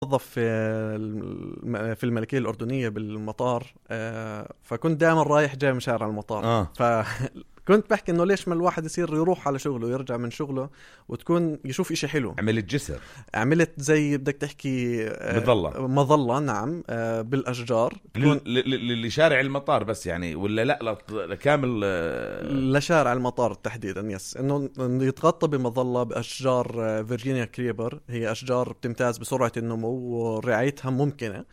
موظف في الملكية الأردنية بالمطار. فكنت دائما رايح جاي من شارع المطار. فكنت بحكي إنه ليش ما الواحد يصير يروح على شغله ويرجع من شغله وتكون يشوف إشي حلو. عملت جسر، عملت زي بدك تحكي مظلة. نعم. بالأشجار لشارع المطار بس يعني، ولا لا لكامل لشارع المطار تحديدا. يس إنه يتغطى بمظلة بأشجار فيرجينيا كريبر. هي أشجار بتمتاز بسرعة النمو ورعايتها ممكنة.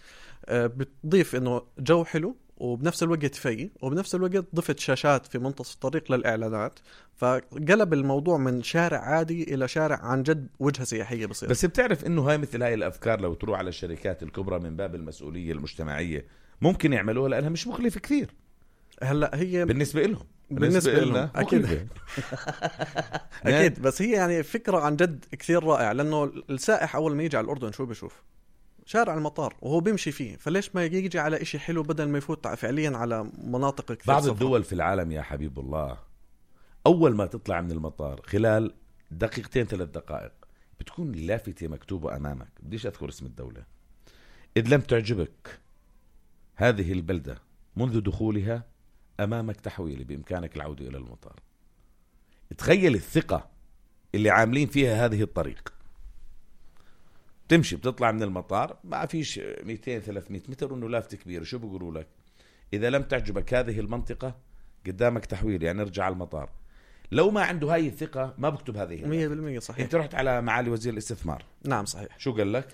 بتضيف إنه جو حلو وبنفس الوقت فيه، وبنفس الوقت ضفت شاشات في منتصف الطريق للإعلانات. فقلب الموضوع من شارع عادي إلى شارع عن جد وجهة سياحية بصير. بس بتعرف إنه هاي مثل هاي الأفكار لو تروح على الشركات الكبرى من باب المسؤولية المجتمعية ممكن يعملوها، لأنها مش مكلفة كثير. هلا هي بالنسبة لهم أكيد. أكيد. بس هي يعني فكرة عن جد كثير رائعة، لأنه السائح أول ما يجي على الأردن شو بيشوف؟ شارع المطار وهو بيمشي فيه. فليش ما يجي على إشي حلو بدل ما يفوت فعليا على مناطق كثير. بعض الدول في العالم يا حبيب الله أول ما تطلع من المطار خلال 2-3 دقائق بتكون لافتة مكتوبة أمامك، بديش أذكر اسم الدولة، إذ لم تعجبك هذه البلدة منذ دخولها أمامك تحويلي، بإمكانك العودة إلى المطار. تخيل الثقة اللي عاملين فيها هذه الطريق. تمشي بتطلع من المطار ما فيش 200-300 متر وإنه لافتة كبيرة، شو بيقولوا لك؟ إذا لم تعجبك هذه المنطقة قدامك تحويل، يعني ارجع على المطار. لو ما عنده هاي الثقة ما بكتب هذه 100%. صحيح. انت رحت على معالي وزير الاستثمار. نعم صحيح. شو قال لك؟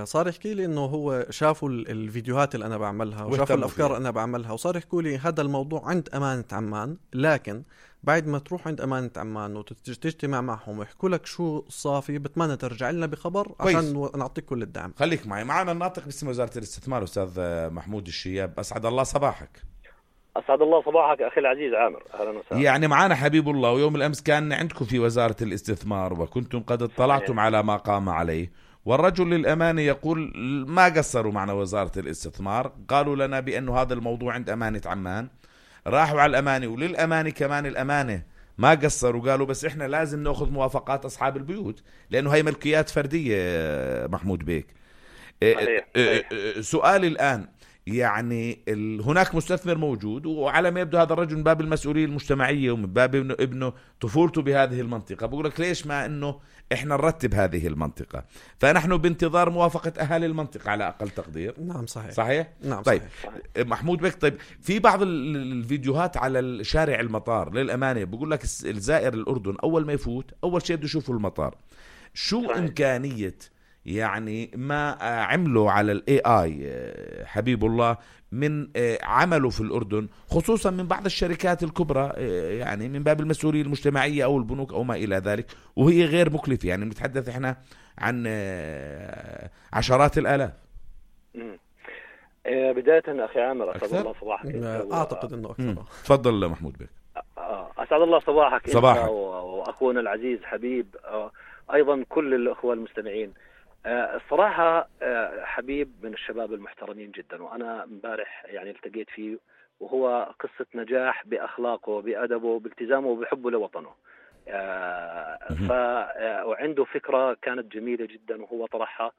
صار يحكي لي انه هو شافوا الفيديوهات اللي انا بعملها وشافوا الافكار اللي انا بعملها، وصار يحكوا لي هذا الموضوع عند امانة عمان، لكن بعد ما تروح عند امانة عمان وتجتمع معهم ويحكوا لك شو صافي بتمنى ترجع لنا بخبر عشان نعطيك كل الدعم. خليك معنا الناطق باسم وزارة الاستثمار استاذ محمود الشياب. اسعد الله صباحك. أسعد الله صباحك أخي العزيز عامر، أهلا وسهلا. يعني معنا حبيب الله، ويوم الأمس كان عندكم في وزارة الاستثمار وكنتم قد اطلعتم على ما قام عليه، والرجل للأمانة يقول ما قصروا معنا وزارة الاستثمار، قالوا لنا بأنه هذا الموضوع عند أمانة عمان. راحوا على الأمانة، وللأمانة كمان الأمانة ما قصروا، قالوا بس إحنا لازم نأخذ موافقات أصحاب البيوت لأنه هاي ملكيات فردية. محمود بيك، سؤالي الآن يعني هناك مستثمر موجود، وعلى ما يبدو هذا الرجل من باب المسؤولية المجتمعية ومن باب ابنه طفولته بهذه المنطقة، بقول لك ليش ما انه احنا نرتب هذه المنطقة؟ فنحن بانتظار موافقة اهالي المنطقة على اقل تقدير. نعم صحيح. صحيح؟ نعم طيب صحيح. محمود بك، طيب في بعض الفيديوهات على شارع المطار للأمانة بقول لك الزائر الأردن أول ما يفوت أول شيء بده يشوفه المطار. شو صحيح. إمكانية يعني ما عملوا على AI حبيب الله من عمله في الأردن، خصوصا من بعض الشركات الكبرى، يعني من باب المسؤولية المجتمعية أو البنوك أو ما إلى ذلك، وهي غير مكلفة، يعني نتحدث إحنا عن عشرات الآلاف. بداية أخي عامر أسعد الله صباحك. أعتقد أنه أكثر. تفضل محمود بك. أسعد الله صباحك. صباحك. وأخونا العزيز حبيب، أيضا كل الأخوة المستمعين. الصراحة حبيب من الشباب المحترمين جدا، وأنا امبارح يعني التقيت فيه، وهو قصة نجاح بأخلاقه وبأدبه بالتزامه وبحبه لوطنه. وعنده فكرة كانت جميلة جدا وهو طرحها.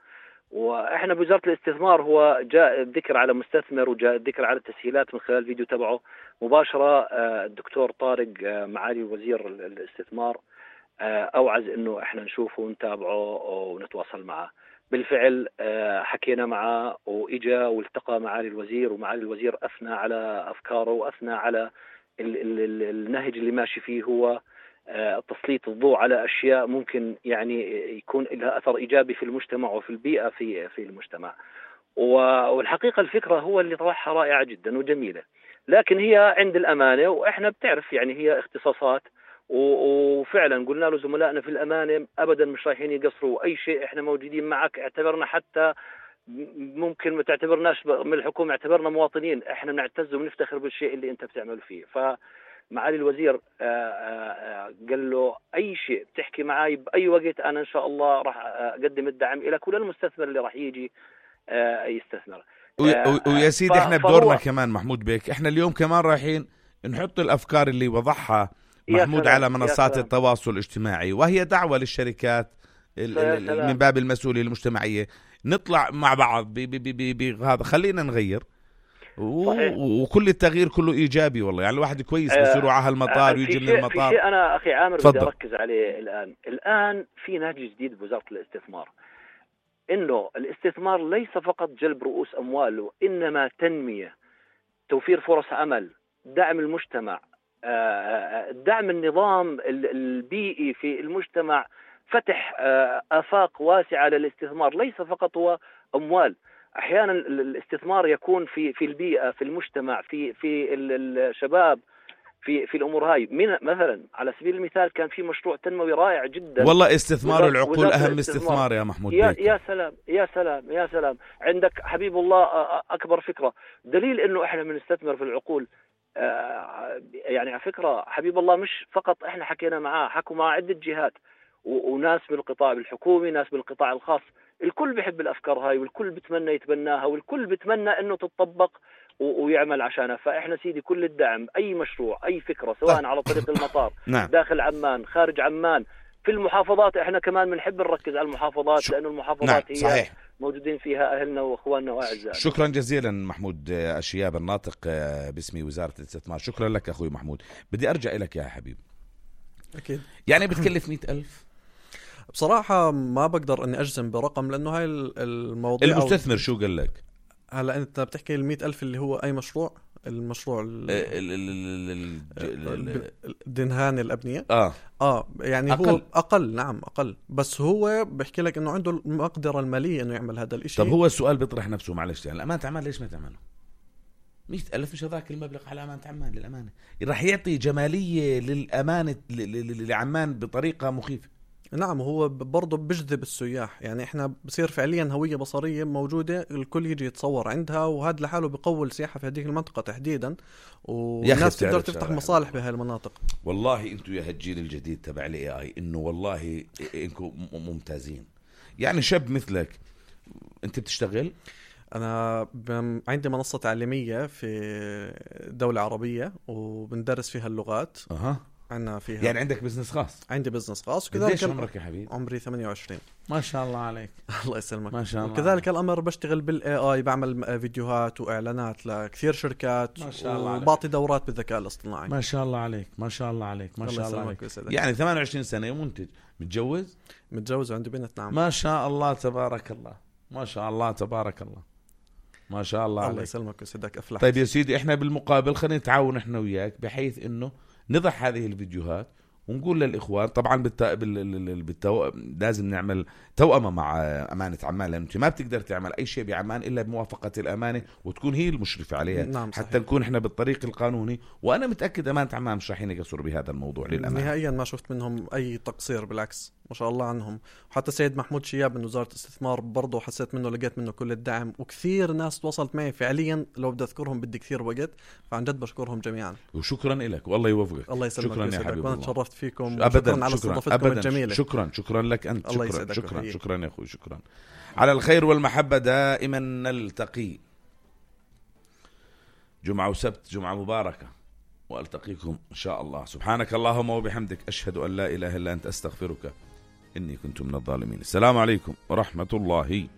وإحنا بوزارة الاستثمار هو جاء الذكر على مستثمر وجاء الذكر على التسهيلات من خلال الفيديو تبعه مباشرة. الدكتور طارق معالي وزير الاستثمار أوعز إنه إحنا نشوفه ونتابعه ونتواصل معه. بالفعل حكينا معه وإجا والتقى معالي الوزير، ومعالي الوزير أثنى على أفكاره وأثنى على النهج اللي ماشي فيه هو تسليط الضوء على أشياء ممكن يعني يكون لها أثر إيجابي في المجتمع وفي البيئة في المجتمع. والحقيقة الفكرة هو اللي طرحها رائعة جدا وجميلة، لكن هي عند الأمانة، وإحنا بتعرف يعني هي اختصاصات، وفعلا قلنا له زملائنا في الأمانة أبدا مش رايحين يقصروا أي شيء، إحنا موجودين معك، اعتبرنا حتى ممكن ما تعتبرناش من الحكومة، اعتبرنا مواطنين، إحنا نعتز ونفتخر بالشيء اللي أنت بتعمل فيه. فمعالي الوزير قال له أي شيء بتحكي معي بأي وقت، أنا إن شاء الله راح أقدم الدعم إلى كل المستثمر اللي راح يجي يستثمر. ويا سيدي احنا بدورنا كمان محمود بيك، احنا اليوم كمان رايحين نحط الأفكار اللي وضعها محمود على منصات التواصل الاجتماعي، وهي دعوة للشركات من باب المسؤولية المجتمعية نطلع مع بعض بهذا. خلينا نغير صحيح. وكل التغيير كله إيجابي والله. يعني الواحد كويس بس يروح على المطار ويجي من المطار. في شيء أنا أخي عامر بدي فضل. أركز عليه الآن في نهج جديد بوزارة الاستثمار، إنه الاستثمار ليس فقط جلب رؤوس أموال، وإنما تنمية، توفير فرص عمل، دعم المجتمع، دعم النظام البيئي في المجتمع، فتح آفاق واسعة للاستثمار. ليس فقط هو أموال، أحيانا الاستثمار يكون في البيئة، في المجتمع، في الشباب، في الأمور هاي. مثلا على سبيل المثال كان في مشروع تنموي رائع جدا والله استثمار العقول أهم استثمار يا محمود. يا سلام يا سلام يا سلام. عندك حبيب الله أكبر فكرة دليل إنه إحنا بنستثمر في العقول. يعني على فكرة حبيب الله مش فقط إحنا حكينا معاه، حكوا مع عدة جهات وناس من القطاع الحكومي، ناس من القطاع الخاص. الكل بيحب الأفكار هاي، والكل بتمنى يتبناها، والكل بتمنى إنه تتطبق ويعمل عشانها. فإحنا سيدي كل الدعم، أي مشروع، أي فكرة، سواء على طريق المطار نعم. داخل عمان، خارج عمان، في المحافظات. إحنا كمان بنحب نركز على المحافظات، لأنه المحافظات نعم. هي صحيح. موجودين فيها أهلنا وأخواننا وأعزائنا. شكرا جزيلا محمود الشياب الناطق باسم وزارة الاستثمار. شكرا لك أخوي محمود. بدي أرجع لك يا حبيب. أكيد. يعني بتكلف 100,000 بصراحة ما بقدر أني أجزم برقم، لأنه هاي الموضوع. المستثمر شو قال لك؟ هلا أنت بتحكي 100,000 اللي هو أي مشروع؟ المشروع دهان الأبنية. يعني أقل. هو أقل. نعم أقل، بس هو بحكي لك إنه عنده المقدرة المالية إنه يعمل هذا الإشي. طب هو السؤال بيطرح نفسه، معلش يعني الأمانة عمان ليش ما تعمله؟ 100,000 مش هذاك المبلغ على أمانة عمان. للأمانة راح يعطي جمالية للأمانة لعمان بطريقة مخيفة. نعم، هو برضه بجذب السياح. يعني احنا بصير فعليا هوية بصرية موجودة، الكل يجي يتصور عندها، وهذا لحاله بقوي السياحة في هذه المنطقة تحديدا، والناس تقدر تفتح مصالح بهاي المناطق. والله انتوا يا هالجيل الجديد تبع الاي انه والله انكم ممتازين. يعني شاب مثلك انت بتشتغل. انا عندي منصة تعليمية في دولة عربية وبندرس فيها اللغات. عنا فيها. يعني عندك بزنس خاص؟ عندي بزنس خاص. قديش عمرك يا حبيب؟ عمري 28. ما شاء الله عليك. الله يسلمك. ما شاء الله. وكذلك الأمر بشتغل بالاي بعمل فيديوهات وإعلانات لكثير شركات، ما شاء الله. وبعطي دورات بالذكاء الاصطناعي. ما شاء الله عليك. ما شاء الله عليك. ما شاء الله عليك. يسلمك. يعني 28 سنة منتج، متجوز وعندي بنت. نعم. ما شاء الله تبارك الله. ما شاء الله تبارك الله. ما شاء الله عليك. الله يسلمك ويسعدك. أفلح. طيب يا سيدي، احنا بالمقابل خلينا نتعاون احنا وياك بحيث انه نضع هذه الفيديوهات ونقول للإخوان. طبعا لازم نعمل توأمة مع أمانة عمان، لأنه ما بتقدر تعمل أي شيء بعمان إلا بموافقة الأمانة وتكون هي المشرفة عليها. نعم حتى نكون إحنا بالطريق القانوني. وأنا متأكد أمانة عمان مش رايحين يقصروا بهذا الموضوع للأمانة. نهائيا ما شفت منهم أي تقصير، بالعكس ما شاء الله عنهم. وحتى سيد محمود شياب من وزارة الاستثمار برضو حسيت منه، لقيت منه كل الدعم، وكثير ناس تواصلت معي فعليا. لو بدي أذكرهم بدي كثير وقت، فعن جد بشكرهم جميعا. وشكرا لك والله يوفقك. الله يسلمك. شكرا يا حبيبي. وأنا تشرفت فيكم. أبدا. شكرا على استضافتكم الجميلة. شكرا لك أنت. شكرا يا أخوي. شكرا. على الخير والمحبة دائما نلتقي. جمعة وسبت، جمعة مباركة، وألتقيكم إن شاء الله. سبحانك اللهم وبحمدك، أشهد أن لا إله إلا أنت، أستغفرك إني كنت من الظالمين. السلام عليكم ورحمة الله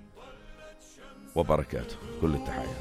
وبركاته. كل التحية.